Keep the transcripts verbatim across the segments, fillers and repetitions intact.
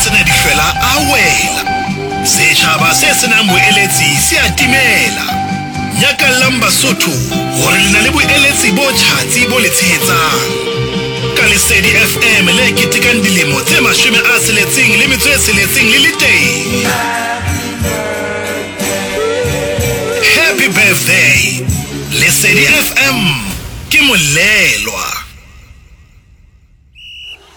Sena dihlwela a wela. Setjhaba se senang boeletsi se a timela. Nyakallang Basotho hore le na le boeletsi bo tjhatsi bo le tshehetsang. Ka Lesedi F M le ketekang dilemo tse mashome a tsheletseng le metso e tsheletseng le le teng. Happy birthday. Lesedi F M ke molelwa.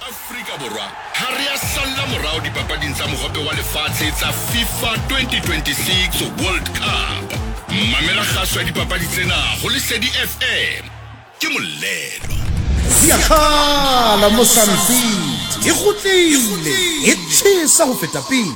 Afrika Borwa ha re a salla morao dipapading tsa Mohope wa Lefatshe tsa FIFA twenty twenty-six World Cup. Mamela kgaso ya dipapadi tsena ho Lesedi F M. Ke molelwa. Siyakhala mo Sun City, e kgutlile, e tjhesa ho feta pele.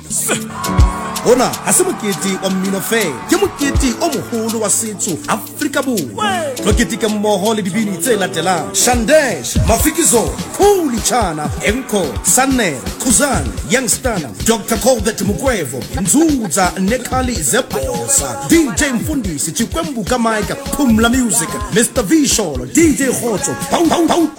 Hona ha se mokete wa mmino fela, ke mokete o moholo wa setso Afrika Borwa. Tlo keteka mmoho le dibini tse latelang: Shandesh, Mafikizolo, Khuli Chana, Enco, Sannere, Khuzani, Youngstana, Doctor Colbert Mukwevho, Nzuza Nekhali Zebosa, D J Mfundisi, Chikwembuka Mike, Phumla Music, Mister Visholo, D J Khotso.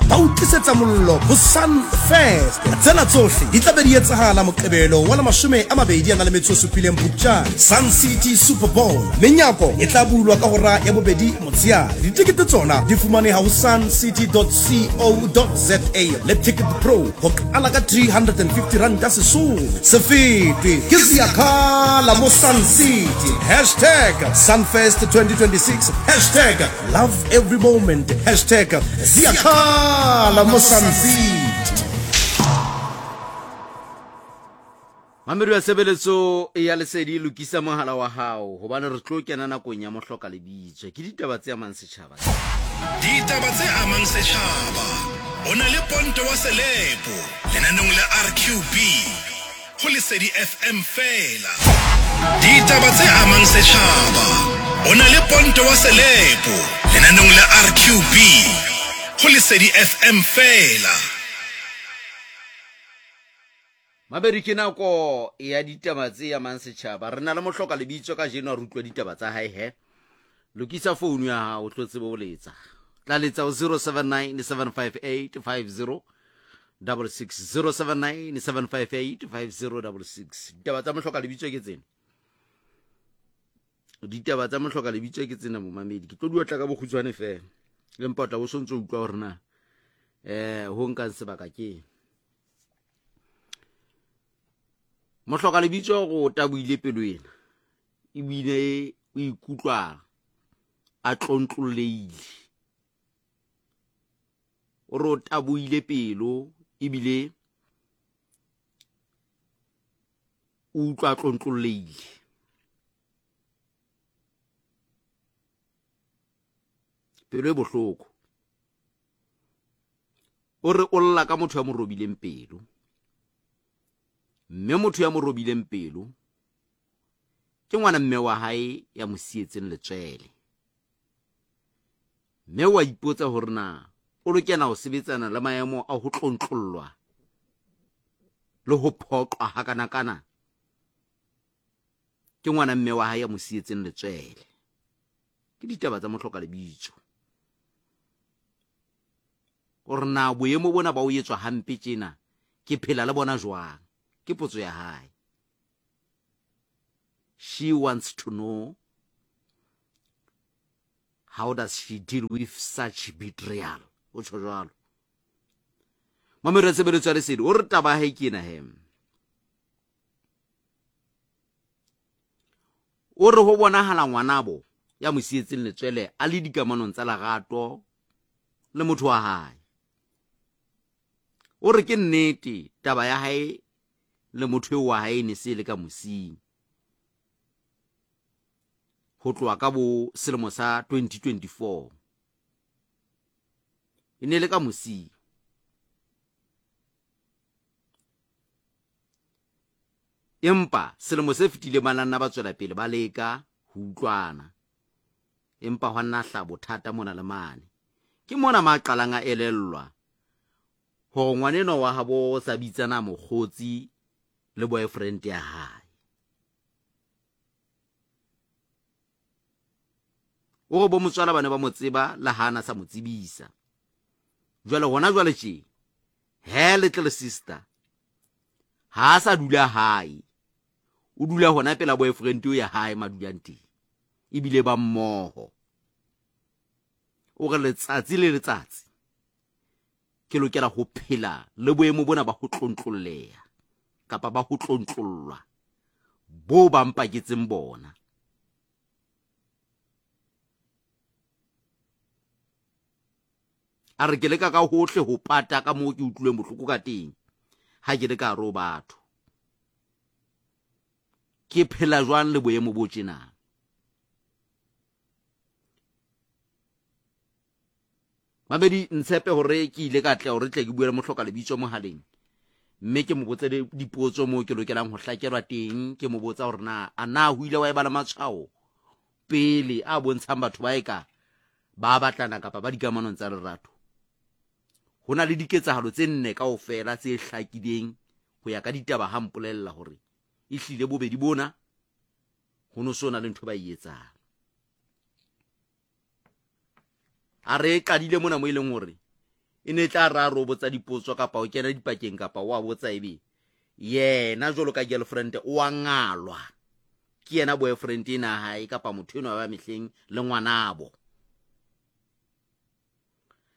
Ba o tlisetsa mollo ho Sun Fest. Tsena tsohle di tla be di etsahala Moqebelo wa la mashome a mabedi a na le metso e supileng Phupjane, Sun City Super Bowl. Menyako e tla bulwa ka hora ya bobedi motsheare. Ditekete tsona di fumaneha ho suncity dot co dot za le Ticket Pro ho qala ka three hundred and fifty rand Sesotho. Se fetwe ke Siyakhala mo Sun City. Hashtag Sunfest twenty twenty-six, hashtag love every moment, hashtag Siyakhala mo Sun City. Mamedi wa tshebeletso ya Lesedi, lokisa mohala wa hao hobane re tlo kena nakong ya mohloka lebitso. Ke ditaba tse amang setjhaba. Ditaba tse amang setjhaba. O na le Ponto wa Selepo lenaneong la R Q B ho Lesedi F M fela. Ditaba tse amang setjhaba. O na le Ponto wa Selepo lenaneong la R Q B ho Lesedi F M fela. Mabedi, ke nako ya ditaba tse amang setjhaba. Re na le mohloka lebitso kajeno, a re utlwa ditaba tsa hae. He, lokisa founu ya hao, o tlo tsebe ho letsa. Tla letsa ho zero seven nine, seven five eight five zero six six, zero seven nine, seven five eight five zero six six. Ditaba tsa mohloka lebitso ke tsena. Ditaba tsa mohloka lebitso ke tsena, momamedi. Ke tlo di otla ka bokgutshwane fela, empa o tla bo sontso utlwa hore na eh ho nkang sebaka ke mohloka lebitso. Go taboile pelo ena, ebile o ikutlwa a tlontlollehile. O re o taboile pelo ebile o utlwa a tlontlollehile. Pelo e bohloko. O re o lla ka motho ya mo robileng pelo, mme motho ya mo robileng pelo ke ngwana mme wa hae ya mo sietseng letswele. Mme wa ipotsa hore na o lokela ho sebetsana le maemo a ho tlontlollwa le ho phoqwa hakanakana ke ngwana mme wa hae ya mo sietseng letswele. Ke ditaba tsa mohloka lebitso. Hore na boemo bona ba o etswa hampe tjena, ke phela le bona jwang? Ke potso ya hae. She wants to know, how does she deal with such betrayal? O tjho jwalo. Mamedi wa tshebeletso ya Lesedi, o re taba ya hae ke ena. He, o re ho bonahala ngwanabo ya mo sietseng letswele a le dikamanong tsa lerato le motho wa hae. O re ke nnete, taba ya hae le motho eo wa hae ne se le ka mosing ho tloha ka bo selemo sa twenty twenty-four, e ne le ka mosing. Empa selemo se fetileng ba nna ba tswela pele ba leka ho utlwana, empa hwa nna hla bothata mona le mane. Ke mona ma qalang a elellwa hore ngwanenwa wa habo o sa bitsana mokgotsi le boyfriend ya hae. O re bo motswala ba ne ba mo tseba le hana sa mo tsebisa. Jwale hona jwale tje, he, little sister, ha Ha a sa dula hae, o dula hona pela boyfriend eo ya hae madulang teng, ebile ba mmoho. O re letsatsi le letsatsi ke lokela ho phela le boemo bona ba ho tlontlolleha kapa ba ho tlontlollwa bo ba mpaketseng bona. A re ke leka ka hohle ho pata ka moo ke utlwileng bohloko ka teng ha ke le ka hare ho batho. Ke phela jwang le boemo bo tjena? Mamedi, ntshepe hore ke ile ka tla hore tle ke bue le mohloka lebitso mohaleng, mme ke mo botse dipotso moo ke lokelang ho hlakelwa teng. Ke mo botsa hore na a na ho ile wa eba le matshwao pele a bontshang batho ba eka ba batlana kapa ba dikamanong tsa lerato. Ho na le diketsahalo tse nne kaofela tse hlakileng ho ya ka ditaba ha mpolella hore ehlile bobedi bona ho no so na le ntho ba e etsang. A re qadile mona mo e leng hore e ne tla ra ro botsa dipotso kapa o kena dipakeng kapa wa botsa ebe yena jwalo ka girlfriend o a ngalwa ke yena boyfriend ena hae kapa motho enwa wa mehleng le ngwanabo.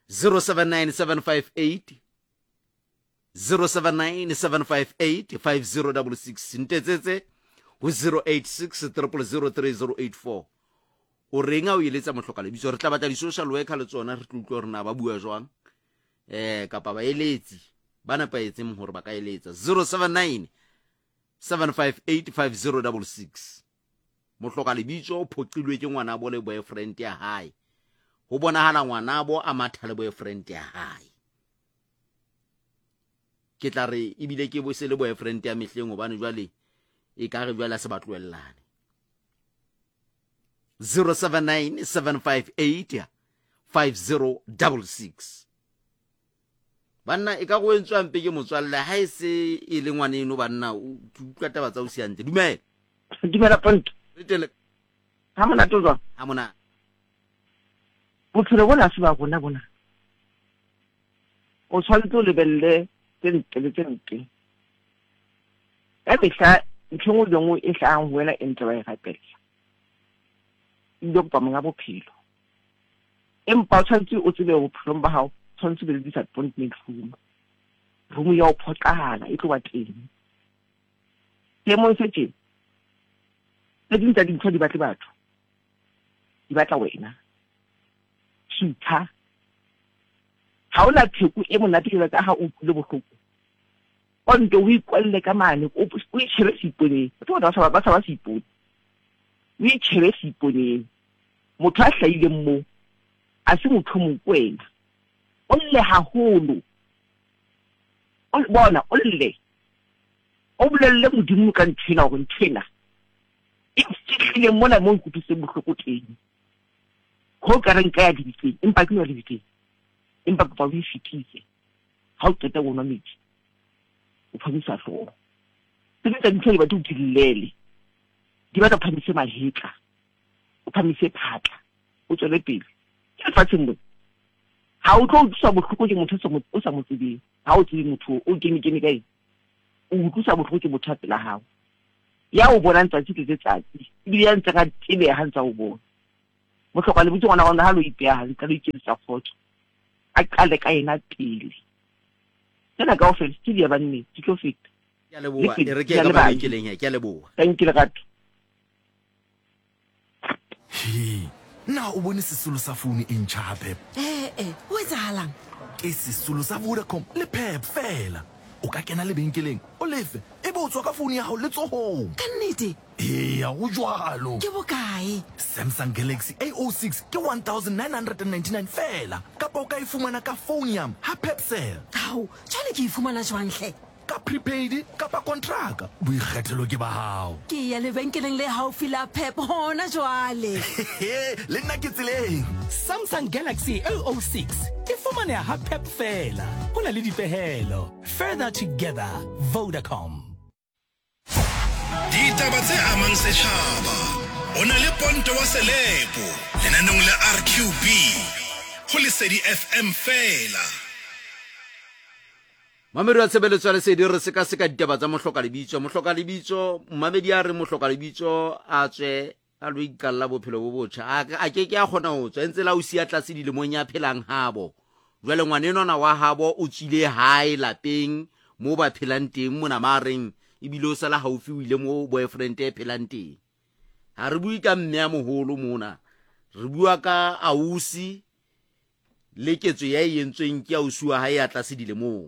zero seven nine seven five eight zero seven nine seven five eight five zero six six ntetsetse ho zero eight six triple zero three zero eight four. O reng a o eletsa mohloka lebitso? Re tla batla di-social worker le tsona, re tlo utlwa hore na ba bua jwang, eh kapa ba eletsi ba nepahetseng hore ba ka eletsa. zero seven nine seven five eight five zero six six. Mohloka lebitso o phoqilwe ke ngwanabo le boyfriend ya hae. Ho bonahala ngwanabo a matha le boyfriend ya hae. Ke tla re ebile ke bo se le boyfriend ya mehleng hobane jwale e ka re jwale a se ba tlohellane. zero seven nine seven five eight five zero six six. Banna e ka go entswa mpe ke motswalle ha e se e le ngwaneno banna o utlwa taba tsa o siantle. Dumela. Dumela Ponto. Re tele. Ha monate o jwang? Ha monate. Bophelo bona se ba rona bona. O tshwanetse o lebelle tse ntle le tse mpe. Ka mehla ntho e nngwe le nngwe e hlahang ho wena e ntle wa e rapella. Ebile kopa monga bophelo. Empa o tshwanetse o tsebe bophelong ba hao, tshwanetse o be le disappointment room. Room ya ho phoqahala e tlo ba teng. Seemong se tjena, tse ding tsa dintho di batle batho, di batla wena. Sutha. Ha hona pheko e monate jwalo ka ha o utlwile bohloko. O nto o ikwalle ka mane, o o itjhebe seiponeng. Batho bona ba sa ba sa ba seipone. O itjhebe seiponeng. Motho a hlahileng moo a se motho o mong ke wena. O lle haholo. O bona o lle. O bolelle Modimo ka nthwena hore nthwena e fihlile mona mo nkutlwisitseng bohloko teng. Ho ka re nka ya dibitleng, empa ke no dibitleng. Empa kopa o e fetise. Ha o qeta ho nwa metsi, o phamisa hlooho. Tse ding tsa dintho di batla o di llele. Di batla o phamise mahetla, o phamise phatla, o tswele pele. Ke lefatsheng mona. Ha o tlo utlwiswa bohloko ke motho o sa mo tsebeng. Ha o tsebe motho o kene kene ka eng. O utlwiswa bohloko ke motho a pela hao. Ya o bonang tsatsi le letsatsi, ebile ya ntse ka tebeha ha ntse a o bona. Mohloka lebitso ngwana wa ha lo ipeha hantle, lo iketsetsa kgotso. A qale ka yena pele. Tsena kaofela ke di ya banneng, di tlo feta. Ke a leboha, e re ke ka mabenkeleng he, ke a leboha. Thank you Lerato. He, na o bone sesolo sa founu e ntjha ha Pep? Eh eh, ho etsahalang? Ke sesolo sa Vodacom le Pep fela. O ka kena lebenkeleng, o lefe, ebe o tswa ka founu ya hao letsohong. Ka nnete? Eya, ho jwalo. Ke bokae? Samsung Galaxy A oh six ke one thousand nine hundred and ninety-nine fela. Kapa o ka e fumana ka phone yam ha Pepsel. Hao, jwale ke e fumana jwang hle? Ka prepaid kapa kontraka, boikgethelo ke ba hao. Ke ya lebenkeleng le haufi la Pep hona jwale. Le nna ke tseleng. Samsung Galaxy A oh six e fumaneha ha Pep fela. Ho na le dipehelo. Further together, Vodacom. Ditaba tse amang setjhaba. O na le Ponto wa Selepo lenaneong la R Q B ho Lesedi F M fela. Mamedi wa tshebeletso ya Lesedi, re sekaseka ditaba tsa mohloka lebitso. Mohloka lebitso, mmamedi a re mohloka lebitso a tswe a lo iqalla bophelo bo botjha. A a ke ke a kgona ho tswa, ntse la o siya tlase dilemong ya phelang habo. Jwale ngwanenwana wa habo o tswile hae lapeng mo ba phelang teng mona mareng, ebile o sala haufi o ile mo boyfriend e phelang teng. Ha re bue ka mme a moholo mona, re bua ka ausi le ketso ya e entsweng ke ausi wa hae ya tlase dilemong.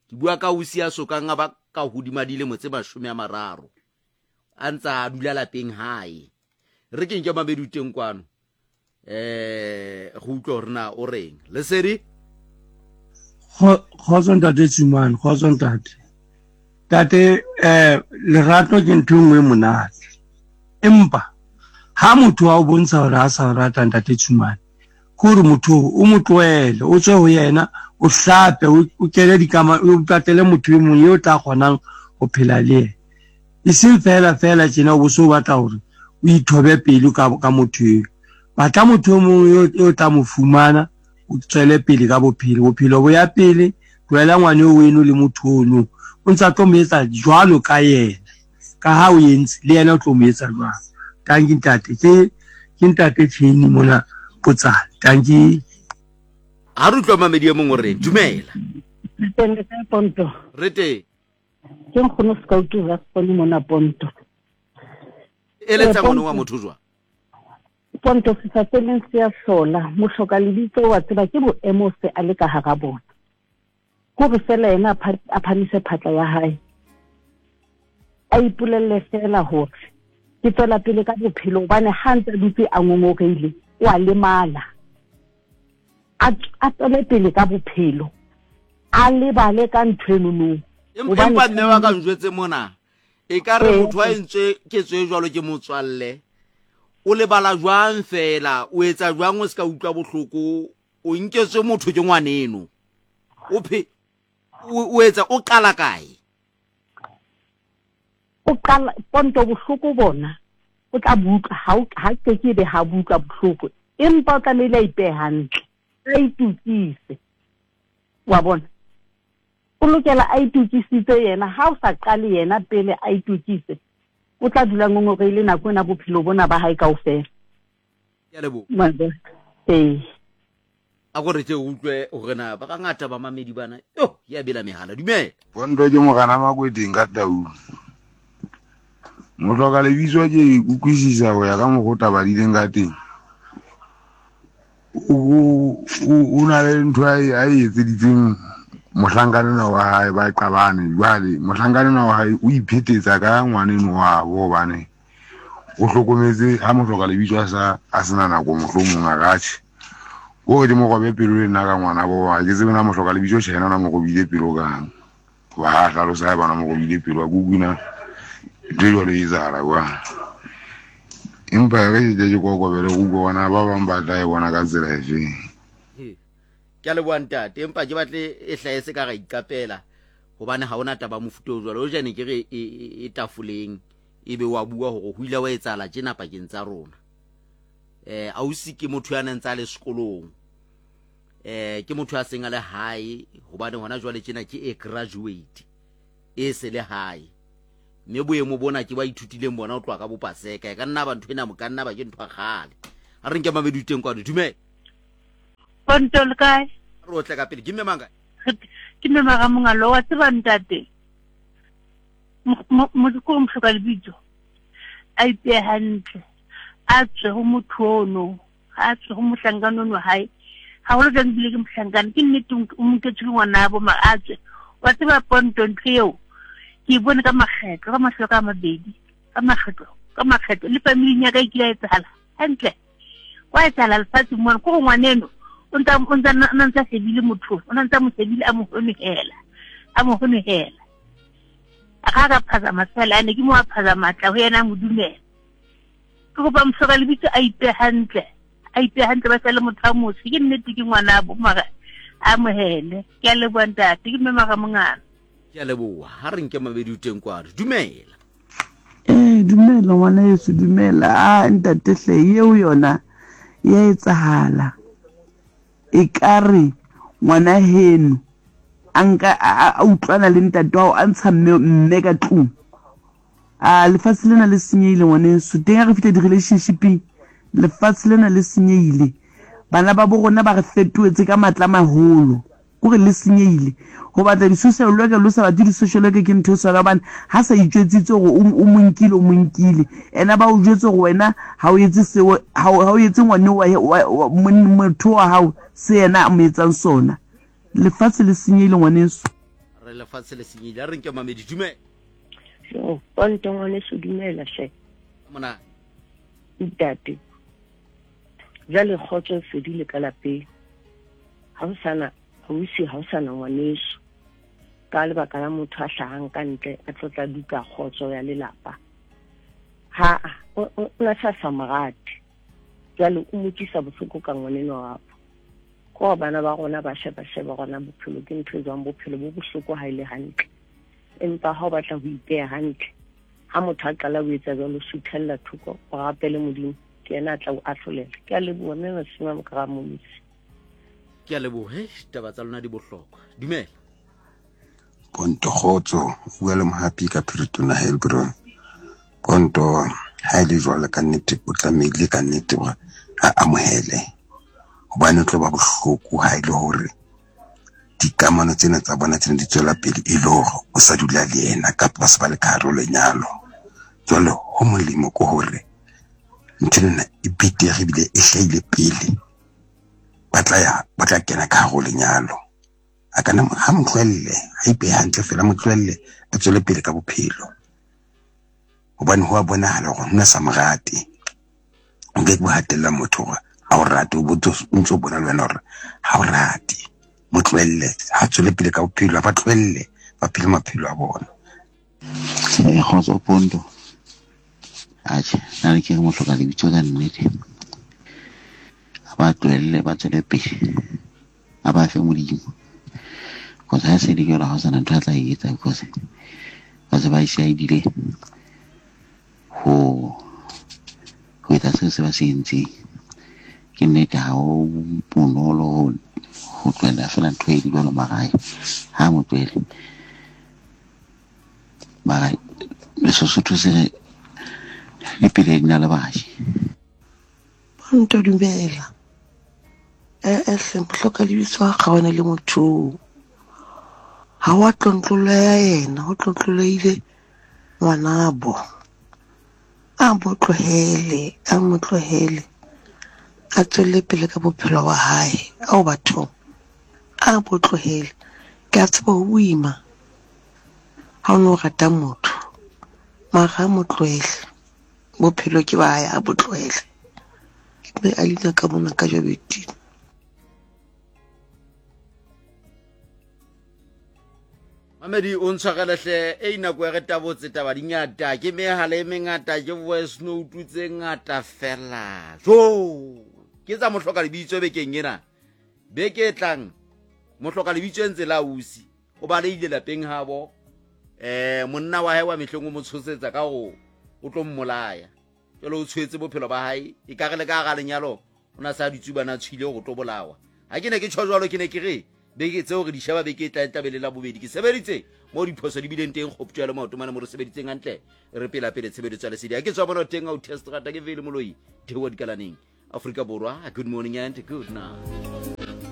Ke bua ka ausi ya sokang a ba ka hodima dilemo tse mashome a mararo, a ntsa a dula lapeng hae. Re keng ke mabedi teng kwano, eh go utlwa hore na o reng. Lesedi. Kgotso ntate Tsumane, kgotso ntate. Ntate, eh lerato ke ntho e nngwe e monate. Empa ha motho a o bontsha hore a sa o rata ntate Tsumane, ke hore motho o mo tlohele, o tswe ho yena, o hlape, o kene dikama, o patele motho e mong eo tla kgonang ho phela le yena. E seng fela fela tjena o bo so batla hore o ithobe pelo ka ka motho eo. Batla motho e mong eo eo tla mo fumana, o tswele pele ka bophelo. Bophelo bo ya pele, tlohela ngwana eo weno le motho ono. O ntsa tlo mo etsa jwalo ka yena. Ka ha o entse, le yena o tlo mo etsa jwalo. Tanki ntate, ke ke ntate Chain mona Potsane. Tanki. Ha re utlwa mamedi e mong o reng, dumela. Teng le kae Ponto? Re teng. Ke nkgono Scout Rasponi mona Ponto. Eletsa ngwana wa motho jwang? Ponto se sa feleng se a hlola, mohloka lebitso wa tseba ke boemo se a le ka hara bona. Hore fela yena a phamise phatla ya hae. A ipolelle fela hore ke tswela pele ka bophelo hobane ha ntse a dutse a ngongoreile, o a lemala. A a tswele pele ka bophelo. A lebale ka ntho eno. Empa mme wa ka njwetse mona, e ka re motho a entswe ketso e jwalo ke motswalle, o lebala jwang fela, o etsa jwang o ska utlwa bohloko, o nketswe motho ke ngwaneno. O phe o etsa o qala kae? O qala Ponto bohloko bona o tla buka ha ha ke ke be ha buka bohloko, empa o tlamehile a ipehe hantle, a itukise. Wa bona, o lokela a itukisitse yena. Ha o sa qale yena pele a itukise, o tla dula ngongoreile nako ena bophelo bona ba hae kaofela. Ke a leboha. Ee. A ko re ke utlwe hore na ba bangata ba mamedi bana, yo ya bela mehala. Dumela. Ponto ke morana Makweteng ka Taung. Mohloka lebitso ke utlwisisa ho ya ka mokgwa o taba di leng ka teng. O o na le ntho a e etseditseng mohlankana wa hae, ba qabane. Jwale mohlankana wa hae o iphetetsa ka ngwaneno wa bo, hobane o hlokometse ha mohloka lebitso a sa a sena nako, mohlomong a ka tjhe. Ko re ke mo robe pelo le nna ka ngwana bo, ha ke tsebe na mohloka lebitso tjhe yena na mo robile pelo kang. Hoba ha hlalosa ha bana mo robile pelo, a kukwina ntho e jwalo e etsahala jwang. Empa re ke ke kokobele go utlwa bona ba bang ba tla e bona ka tsela efeng. Ke a leboha ntate, empa ke batle e hlahe se ka ra iqapela, hobane ha hona taba mofuta o jwalo. O jane ke re e tafoleng, ebe wa bua hore ho ile wa etsahala tjena pakeng tsa rona. Eh ausi ke motho ya neng tsa le sekolong, eh ke motho ya seng a le hae, hobane hona jwale tjena ke e graduate e se le hae. Mme boemo bona ke ba ithutileng bona o tloha ka bopaseka, e ka nna ba ntho ena mo ka nna ba ke ntho ya kgale. Ha re nke mamedi teng kwano. Dumela. Ponto le kae? Re otle ka pele. Ke mme mang kae? Ke mme Mara Mongalo. Wa tseba ntate, motho mohloka lebitso a ipehe hantle, a tswe ho motho ono, a tswe ho mohlankana ono hae. Haholo jwang ebile ke mohlankana, ke nnete o monketswe ke ngwanabo, mara a tswe. Wa tseba Ponto ntho eo ke e bone ka makgetlo, ka mahlo ka mabedi, ka makgetlo, ka makgetlo. Le familing ya ka e kile ya etsahala hantle. Wa etsahala lefatsheng mona, ke hore ngwaneno o ntsa o ntsa na ntsa shebile motho, o ntsa mo shebile a mo honohela, a mo honohela. A ka ka phazama fela, ane ke mo a phazama tla ho yena a mo dumela. Ke kopa mohloka lebitso a ipehe hantle, a ipehe hantle, ba sale motho a motsho. Ke nnete ke ngwanabo, mara a amohele. Ke a leboha ntate, ke mme Mara Mongana. Ke a leboha. Ha re nke mabedi o teng kwano. Dumela. Eh dumela ngwana yeso, dumela. A ntate hle, eo yona ya etsahala. E ka re ngwana heno a nka a utlwana le ntate wa hao a ntsha mme mme ka tlung. A lefatshe lena le senyehile ngwaneso. Teng ha re fihla di-relationship-eng lefatshe lena le senyehile. Bana ba bo rona ba re fetohetse ka matla a maholo. Kore le senyehile. Ho batla di-social worker le ho sa batle di-social worker ke ntho e tshwanang hobane ha sa itjwetsitse hore o mo nkile o mo nkile. Ena ba o jwetse hore wena ha o etse seo ha o etse ngwane wa motho wa hao se yena a mo etsang sona. Lefatshe le senyehile ngwaneso. Re lefatshe le senyehile. A re nke mamedi dumela. So, ponto ngwaneso dumela hle. Mona. Ntate. Jwale kgotso e fedile ka lapeng. Ha o sana ausi ha o sana ngwaneso. Ka lebaka la motho a hlahang ka ntle a tlo tla duka kgotso ya lelapa. Ha o na sa sa morate. Jwale o mo tlisa bohloko ka ngwaneno wa hapo. Ko bana ba rona ba sheba sheba rona bophelo ke ntho e jwang bophelo bo bohloko ha ile hantle. Empa ha o batla ho ipeha hantle ha motho a qala ho etsa jwalo suthella thoko o rapele Modimo ke yena a tla o ahlolela. Ke a leboha mme Masima Mokara Molisi. Ke a leboha taba tsa lona di bohlokwa. Dumela. Ponto kgotso o bua le Mohapi ka Phiritona Heilbron. Ponto ha ile jwalo ka nnete o tlamehile ka nnete hore a amohele. Hobane o tlo ba bohloko ha ile hore dikamano tsena tsa bona tsena di tswela pele e le hore o sa dula le yena kapa ba se ba le ka hare ho lenyalo. Jwale ho molemo ke hore ntho ena e betere ebile e hlahile pele ba tla ya ba tla kena ka hare ho lenyalo. A kana ha mo tlohelle ha ipehe hantle fela mo tlohelle a tswele pele ka bophelo. Hobane ho a bonahala hore hona sa mo rate. O ke ke hatella motho hore ha o rate o botse o ntso bona le wena hore ha o rate. Mo tlohelle ha tswele pele ka bophelo ba tlohelle ba phele maphelo a bona. Eh kgotso Ponto. Atjhe, nna le ke re mohloka lebitso ka nnete. A ba tlohelle ba tswele pele. A ba fe Modimo. Because ha se le jwalo ha ho sana ntho a tla e etsa because ba se ba decidile ho ho etsa seo se ba se entseng. Ke nnete ha ho bonolo ho tlohella fela ntho e jwalo mara ha mo tlohele. Mara le Sesotho se re le pele di na le baji. Ponto dumela. Eh eh hle mohloka lebitso ha kgaohane le motho. Ha wa tlontloloha yena, ho tlontlolehile ngwanabo. A mo tlohele, a mo tlohele. A tswele pele ka bophelo ba hae. Ao bathong. A mo tlohele. Ke a tseba ho boima ha o no rata motho. Mara a mo tlohele. Bophelo ke ba hae, a bo tlohele. Ke me Alina ka mona ka Jobeting. Mamedi o ntshwarele hle e nako ya re tabotse taba di ngata ke mehala e mengata ke voice note tse ngata fela. Jo ke tsa mohloka lebitso bekeng ena. Beke e tlang mohloka lebitso e ntse la ausi o baleile lapeng habo eh monna wa hae wa mehleng o mo tshosetsa ka ho o tlo mmolaya. Jwale o tshwetse bophelo ba hae e ka re le ka ga lenyalo o na sa ditsubana tshwile go tlo bolawa. Ha ke ne ke tjho jwalo ke ne ke re beke tseo re di sheba beke e tla tabele la bobedi ke sebeditse mo diphoso di bileng teng kgoptjo le maoto mane mo re sebeditseng hantle re pela pele tshebeletso ya lesedi. Ha ke tswa bona teng au test rata ke vele moloi thewa dikalaneng Afrika Borwa. Good morning and good night.